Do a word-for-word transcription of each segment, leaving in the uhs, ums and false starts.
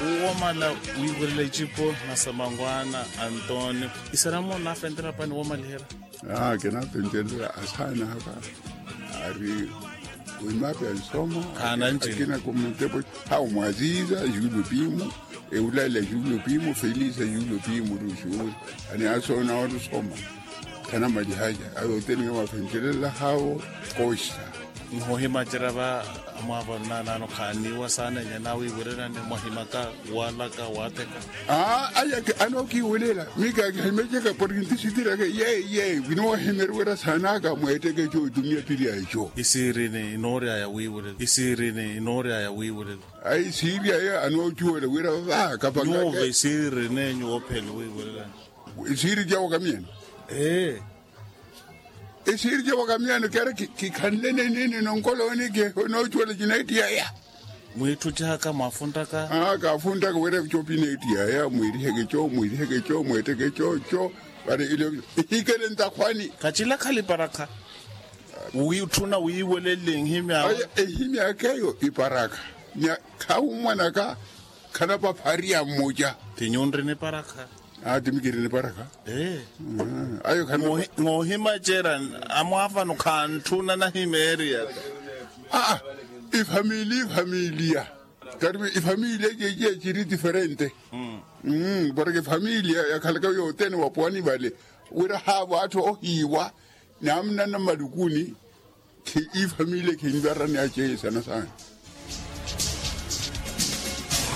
Womala wiiwerela icipo na samangwana antonio. Isaramo nafentela pani womalihela? Aa kinafentelela asaana aka ari wimapi ansoma. Akina kumutepo hau mwaziza yulo pimu, eulala yulo pimu felisa yulo pimu ruxuuri. Ani asona olusoma khanamalihaja awe oteninga mafentelela hawo. Koxa. Nihohimacerya va amwaavo nnanano khaaniiwa saana enya nawiiwererani mwahimaka walaka watheka. Aa aya anookiiwelela mika akihimeceka porke ntisitiri aka yeye yeye vinoohimeriwerya saana aka mweetteke eco otumiya piri a eco. Isiirini inooryaya wiiwerela isiirini inooryaya wiiwerela. Ayi siiri aya anoocuwela wira vava kapangaka nyuuve isiiri nenyu woophele wiiwerelani. Isiiri cawo kamiyano. Ee. Isiiri cawo kamiyano kera kikhanle nenini nonkolooni kinocuwela cinaittiyaya. Mwiitthucihaka mwafuntaka aa kaafuntaka wira copi inaittiyaya mwiiriheke co mwiiriheke co mweetteke co co. Vari ilo ihikele ntakhwani. Khacila khali parakha. Wiitthuna wiiwelele nhimyaawe. Ehimya aka eyo iparakha. Nya khahummwanaka. Khanapapha ariya mmoca. Ti nyunri niparakha. Aa ti mikiri niparakha. Ee. Ayo khana. Ng'ohimacerya amwaafano khantthuna nahimeeriyaka. Aa ifamilia ifamilia. Karipu ifamilia ceciya ciri diferente. Porke ifamilia yakhalaka yothene wapwani vale wira haavo atthu ohiiwa. Namuna na malukuni. Khe ifamilia khinvarani achehe sana sana.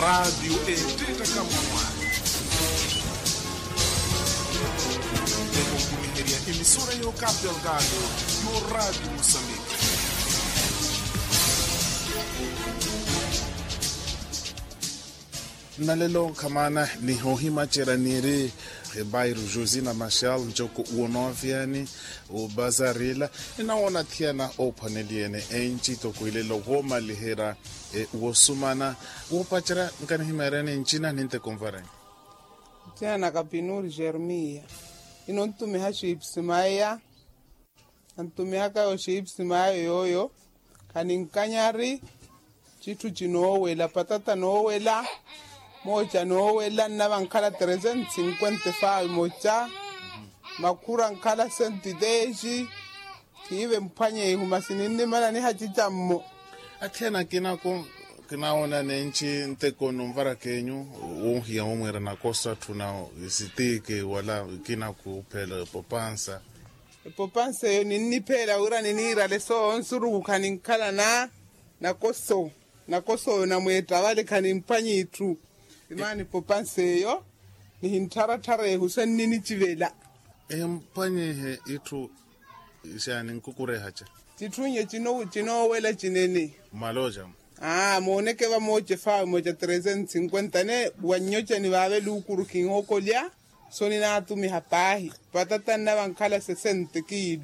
Raatiyo eettaka mumwa ekonkumiherya emisora y'okapi alkato. Yo raatiyo musambiki. Nnalelo nkhamana nihoohimacerya niiri ebairo josina machal ncoko uwo nooviyani. Obazarila ninawoona athiyana oophwaneliyene enci toko ilelo woomaliherya. Wosumana woopacerya nkanihimeeryani ncina ninteko nvareni. Ncina na kapinuri jeremiya. Ino ntumiha xipsi maya. Antumihaka yo xipsi mayo yooyo. Khaninkanyari citthu cinoowela patata noowela. Mooca noowela nnava nkhala tresenti sinkwenta efawi moca. Makhura nkhala sentitexi. Khiive mphwanye ihu masi ninnimala nihacica mmo. Athiyana akina kinawoona nenci nteko nunvara kenyu wonhiya womwiira nakoso atthu na isitiki wala ikina kuphela epopansa. Epopansa eyo ninnipheela wira niniirale soowo nsuruku khaninkhala na nakoso. Nakoso oyo namweetta vale khanimphwanya itthu. Imaana epopansa eyo nihinttharatthareehu senninicivela. Emphwanyihe itthu. Xaani nkukurehaca. Citthu nye cinoowela cinene. Mmalooca. Aa mooneke vamooce faawe mooca tresenti sinkwenta ne wannyoca nivaave luukuru kinhokolya. So ninaatumiha paahi patata nnava nkhala sesente kiilu.